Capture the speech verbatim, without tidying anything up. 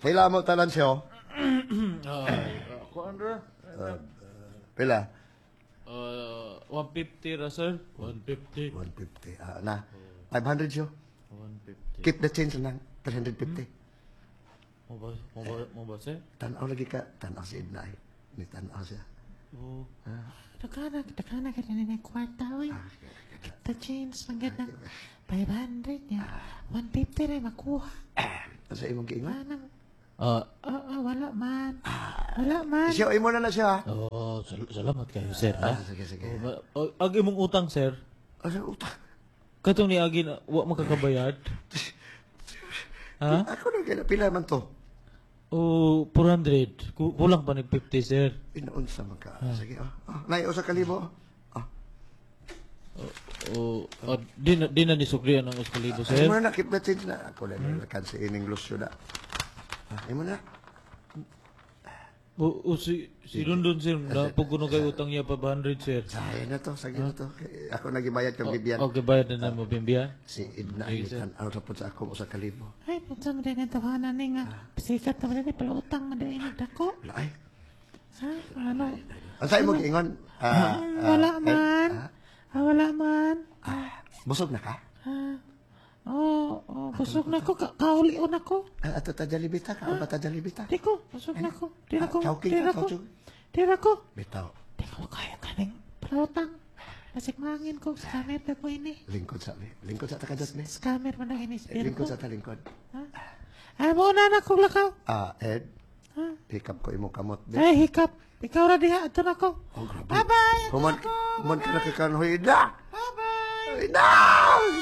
Pila mo tanan siya? Ay, ako Andrew. Pila? Uh, one fifty ra, sir. one fifty. one fifty. Ah, na. five hundred siya. one fifty. Keep the change lang. three hundred fifty. Mo ba, mo ba, mo ba, sir? Tanaw lagi ka. Tanaw si Edna eh. Ni tanaw siya. Oh. Dagana, dagana ka na ng kwarta, oy. Keep the change lang gid ng five hundred niya. one fifty rin makuha. Ano sa imong giingon? Anang, Ah, ah, ah, wala man. Wala man. Siya, imo na na siya, ha? Oh, sal- salamat kayo, sir, ha? Ah, sige, sige. Oh, ba- oh, ang imong utang, sir. Ano utang? Katong niagi na wa makakabayad. Ha? Ako na kaya. Pila man to? Oh, four hundred. Ku- Kulang pa nag fifty, sir. Inaunsa man ka. Sige, oh. Oh, nay, usa ka libo. Oh. Oh, oh, di na di na ni suklian ang usa ka libo, sir. Imo na na, keep the change na. Ako na hmm? kan si ining Lucio na. Ah, imo na. O, o si si London, sir, na ko kay utang niya five hundred, sir. Saya na to, sige na to. Ako nagibayad kang Bibian. Okay, bayad na na mo Bimbian. Si Edna, Sige, sir. tan-aw sa pud sa ako usa ka libo. Ay, punsa mo din ang tawanan ni nga. Sikat na mo din, palautang mo din dako. Wala ay. Ha? Ano? Ang sa imong giingon? Ah, Ah, wala ah, man. eh, Ah, wala man. ah, busog na ka? Ah, oh, oh, busog na ko. Ka kaulion ako. Ah, ato ta Jollibee ta, kaon pa ta Jollibee ta. Di ko, busog na ko. Di na ko. Ah, chowking Di ka, na ko. chowking. Di na ko. Bitaw, Di ko kaya kaning palautang. Basig mangin ko. Scammer na ko ini. Lingkod sa mi. Lingkod sa ta kadot mi. Scammer man na ini. Eh, Lingkod sa ta lingkod. Ha? Ay, mo na na kong lakaw. Ah, Ed, Ha? hikap ko imong kamot be. Ay, hikap. Ikaw ra diha. Ato na ko. Oh, grabe. Bye-bye. Ato Human, na ko. human ka na kakan, hoy, Edna! Bye-bye. Edna!